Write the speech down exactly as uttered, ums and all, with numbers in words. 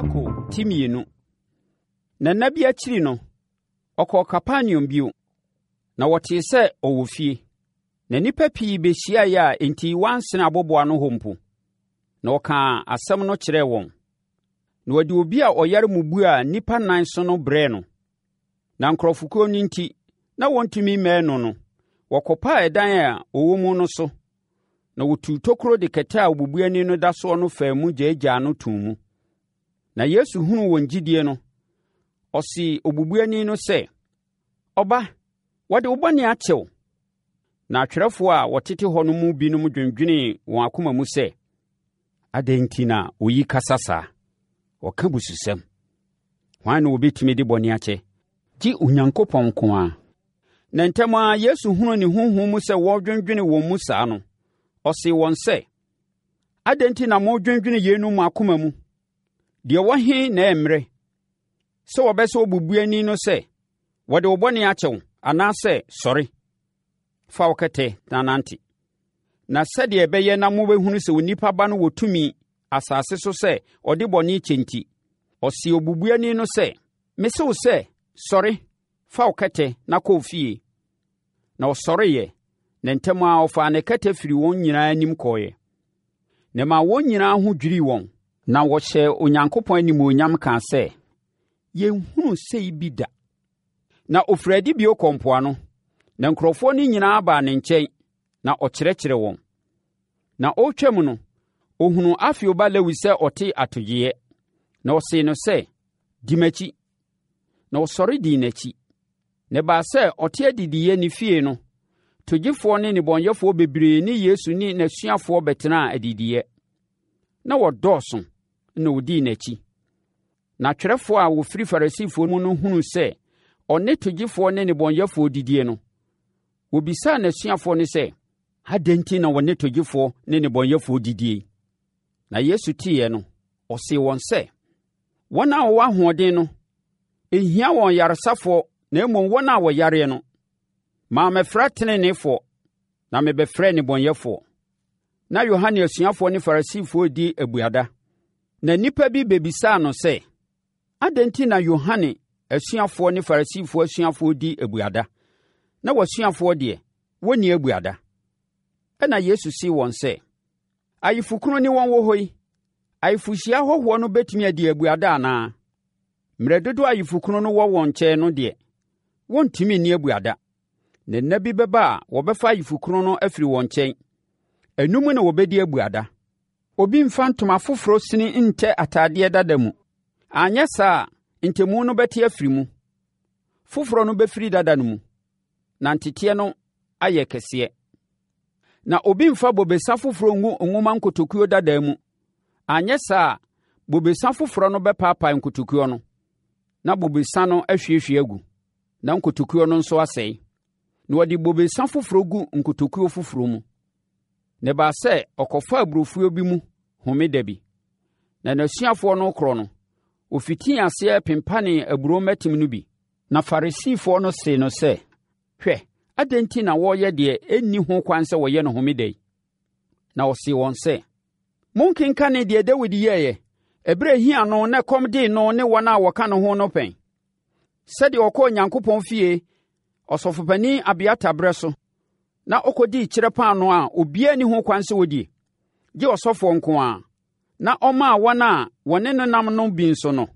Marko ti mmienu. Na nna bi akyiri no, ɔkɔɔ Kapernaum bio, na wɔtee sɛ ɔwɔ fie. Na nnipa pii bɛhyiaeɛ a enti wɔansene aboboano hɔ mpo. Na ɔkaa asɛm no kyerɛɛ wɔn. Na wɔde obi a ɔyare mmubuo a nnipa nan so no brɛɛ no. Na nkurɔfokuo no nti, na wɔntumi mmɛn no no, wɔkɔpaa ɛdan a ɔwɔ mu no so, na wɔtuu tokuro de kɛtɛ a obubuani no da soɔ no faa mu gyaagyaa no too mu. Na Yesu hunuu wɔn gyidie no, ɔsee obubuani no sɛ, Ɔba, wɔde wo bɔne akyɛ wo. Na atwerɛfoɔ a wɔtete hɔ no mu binom dwendwenee wɔn akoma mu sɛ, Adɛn nti na oyi kasa saa? Ɔka bususɛm. Hwan na obɛtumi de bɔne akyɛ? Gye Onyankopɔn nko ara. Na ntɛm ara Yesu hunuu ne honhom mu sɛ wɔredwendwene wɔn mu saa no, ɔsee wɔn sɛ, Adɛn nti na moredwendwene yeinom mo akoma mu? Deɛ ɛwɔ he na ɛyɛ mmerɛ, sɛ wɔbɛse obubuani no sɛ, Wɔde wo bɔne akyɛ wo, anaasɛ, Sɔre, fa wo kɛtɛ na nante? Na sɛdeɛ ɛbɛyɛ na mobɛhunu sɛ Onipa Ba no wɔ tumi asase so sɛ ɔde bɔne kyɛ nti, ɔsee obubuani no sɛ, Mese wo sɛ, sɔre, fa wo kɛtɛ na kɔ wo fie. Na ɔsɔreeɛ, na ntɛm ara ɔfaa ne kɛtɛ firii wɔn nyinaa anim kɔeɛ. Na ɛmaa wɔn nyinaa ho dwirii wɔn, na wɔhyɛɛ Onyankopɔn animuonyam kaa sɛ, Yɛnhunuu sei bi da. Na ɔfirii adi bio kɔɔ mpoano, na nkurɔfoɔ no nyinaa baa ne nkyɛn, na ɔkyerɛkyerɛɛ wɔn. Na ɔretwam no, ɔhunuu Alfeo ba Lewi sɛ ɔte atogyeeɛ, na ɔsee no sɛ, Di m'akyi. Na ɔsɔre dii n'akyi. Na ɛbaa sɛ ɔte adidiiɛ ne fie no, togyefoɔ ne nnebɔneyɛfoɔ bebree ne Yesu ne n'asuafoɔ bɛtenaa adidiiɛ. Na wɔdɔɔso na wɔdii n'akyi. Na atwerɛfoɔ a wɔfiri Farisifoɔ mu no hunuu sɛ ɔne togyefoɔ ne nnebɔneyɛfoɔ didie no, wɔbisaa n'asuafoɔ no sɛ, Adɛn nti na wɔne togyefoɔ ne nnebɔneyɛfoɔ didie? Na Yesu teeɛ no, ɔsee wɔn sɛ, Wɔn a wɔwɔ ahoɔden no, ɛnhia wɔn yaresafoɔ na mmom wɔn a wɔyareɛ no. Mammɛfrɛ teneneefoɔ, na mebɛfrɛɛ nnebɔneyɛfoɔ. Na Yohane asuafoɔ ne Farisifoɔ redi abuada. Na nnipa bi bɛbisaa no sɛ, Adɛn nti na Yohane asuafoɔ ne Farisifoɔ asuafoɔ di abuada, na w'asuafoɔ deɛ, wɔnni abuada? Ɛnna Yesu see wɔn sɛ, Ayefokunu ne wɔn wɔ hɔ yi, ayefohyia ahɔhoɔ no bɛtumi adi abuada anaa? Mmerɛ dodoɔ a ayefokunu no wɔ wɔn nkyɛn no deɛ, wɔntumi nni abuada. Na nna bi bɛba a wɔbɛfa ayefokunu no afiri wɔn nkyɛn. Ɛno mu na wɔbɛdi abuada. Obi mfa ntoma foforɔ sini ntɛ atadeɛ dada mu. Anyɛ saa a, ntɛmu no bɛte afiri mu. Foforɔ no bɛfiri dada no mu, na nteteɛ no ayɛ kɛseɛ. Na obi mfa bobesa foforɔ ngu nwoma nkotokuo dada mu. Anyɛ saa a, bobesa foforɔ no bɛpaapae nkotokuo no, na bobesa no ahwiehwie agu, na nkotokuo no nso asɛe. Na wɔde bobesa foforɔ gu nkotokuo foforɔ mu. Na ɛbaa sɛ ɔkɔfaa aburofuo bi mu homeda bi. Na n'asuafoɔ no rekorɔ no, wɔfitii aseɛ pempanee aburoo mmɛtem no bi. Na Farisifoɔ no see no sɛ, Hwɛ, adɛn nti na wɔreyɛ deɛ ɛnni ho kwan sɛ wɔyɛ no homeda yi? Na ɔsee wɔn sɛ, Monkenkanee deɛ Dawid yɛeɛ, ɛberɛ a ɛhia no na ɛkɔm dee no ne wɔn a wɔka ne ho no pɛn? Sɛdeɛ ɔkɔɔ Onyankopɔn fie Ɔsɔfopanin Abiatar berɛ so na ɔkɔdii kyerɛ paanoo a obiara nni ho kwan sɛ ɔdie, gye ɔsɔfoɔ nko ara, na ɔmaa wɔn a wɔne no nam no bi nso no.